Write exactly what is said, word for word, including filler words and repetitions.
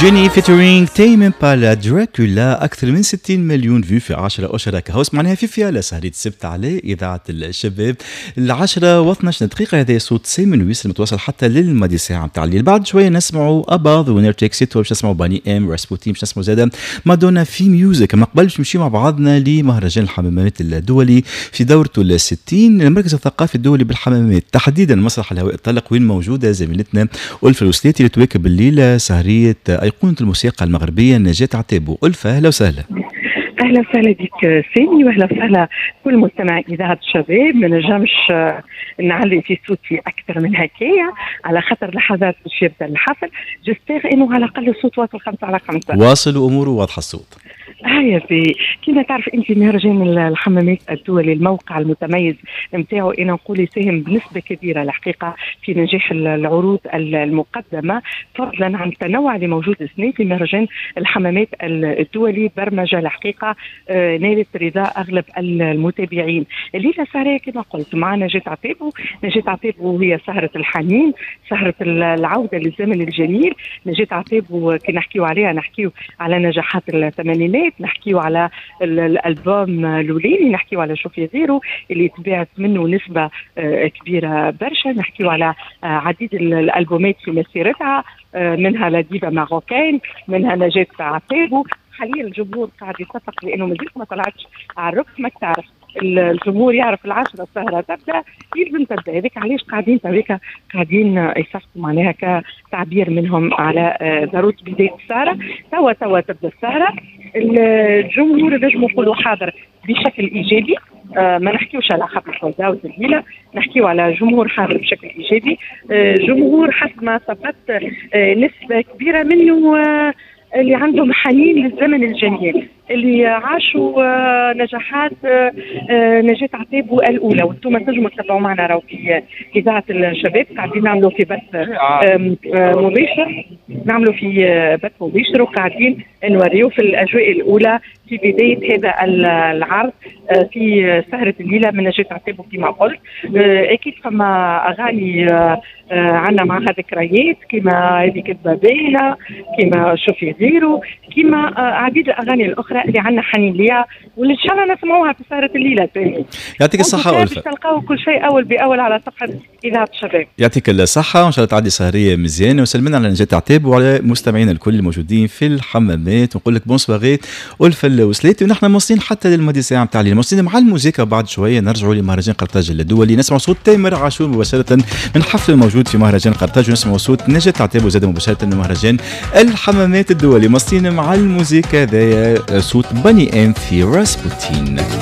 Jennie featuring Tame Impala، Dracula، اكثر من ستين مليون vues في عشرة اشهر. كهو سمعناها في فيالا سهرية السبت على اذاعة الشباب. العشرة واثناش دقيقه، هذا صوت سيمون ويس المتواصل حتى للماضي ساعة نتاع الليل. بعد شوية نسمعوا ABBA، Winner Takes It، باش نسمعوا Boney M، Rasputin، باش نسمعوا زاده مادونا في Music. ما قبل باش نمشيو مع بعضنا لمهرجان الحمامات الدولي في دورته ال ستين، المركز الثقافي الدولي بالحمامات، تحديدا مسرح الهواء الطلق، وين موجودة زميلتنا ألفة الوسلاتي اللي تواكب الليلة سهريه أيقونة الموسيقى المغربية نجاة عتابو. ألفة، أهلا وسهلا. اهلا وسهلا بك سامي، واهلا وسهلا كل مستمع اذاعة الشباب. ما نجمش نعلي في صوتي اكثر من هكايا على خاطر لحظات باش يبدا الحفل. j'espère انه على الاقل الصوت واصل خمسة على خمسة. واصل واموره واضحة الصوت. هيا في كما تعرف انت، مهرجان الحمامات الدولي، الموقع المتميز نتاعو انا نقول يساهم بنسبة كبيرة الحقيقة في نجاح العروض المقدمه، فضلا عن التنوع اللي موجود السنة في مهرجان الحمامات الدولي. برمجة الحقيقة آه، نالت رضا اغلب المتابعين. الليلة سهريه كما قلت مع نجاة عتابو. نجاة عتابو هي سهره الحنين، سهره العودة للزمن الجميل. نجاة عتابو كي نحكيو عليها نحكيو على نجاحات الثمانينات، نحكيو على الالبوم الاولاني، نحكيو على شوفي غيرو اللي تباعت منه نسبه آه، كبيرة برشا، نحكيو على آه، عديد الالبومات في مسيرتها، آه، منها La Diva Marocaine، منها نجاة عتابو. حاليا الجمهور قاعد يصفق لانه مازالت ما طلعتش على الركح. ما تعرف، الجمهور يعرف العشرة السهرة تبدا، يلزم تبدا. هذيك علاش قاعدين تويكا قاعدين يصفقوا، معناها كتعبير منهم على ضرورة بداية السهره. توا توا تبدا السهره. الجمهور نجموا نقولوا حاضر بشكل ايجابي. آه ما نحكيوش على حفل sold out الليله، نحكيو على جمهور حاضر بشكل ايجابي. آه جمهور حسب ما ثبت آه نسبه كبيرة منه آه اللي عندهم حنين للزمن الجميل، اللي عاشوا آه، نجاحات آه، آه، نجاة عتابو الأولى. وانتم تنجموا تتابعوا معنا راهو في إذاعة الشباب، قاعدين نعملوا في بث مباشر، نعملوا في بث مباشر وقاعدين نوريو في الأجواء الأولى في بداية هذا العرض في سهرة الليلة من نجاة عتابو. كما قلت، أكيد فما أغاني عندنا معها ذكريات، كما هذه كذبة باينة، كما شوفي غيره، كما عديد الأغاني الأخرى اللي عندنا حنين ليها واللي ان شاء الله نسمعوها في سهره الليلة ثاني. يعطيك الصحة ألفة. تلقاو كل شيء اول باول على صفحة اذاعة الشباب. يعطيك الصحه، وان شاء الله تعدي سهريه مزيانه، وسلمنا على نجاة عتابو وعلى مستمعينا الكل الموجودين في الحمامات، ونقول لك bonne soirée ألفة الوسلاتي. ونحن مواصلين حتى للماضي ساعة نتاع الليل، مواصلين مع الموسيقى. بعد شوية نرجعوا لمهرجان قرطاج الدولي، نسمع صوت تامر عاشور مباشرة من حفل الموجود في مهرجان قرطاج، ونسمع صوت نجاة عتابو زاد مباشرة من مهرجان الحمامات الدولي. مواصلين مع الموسيقى، هذايا صوت Boney M في Rasputin.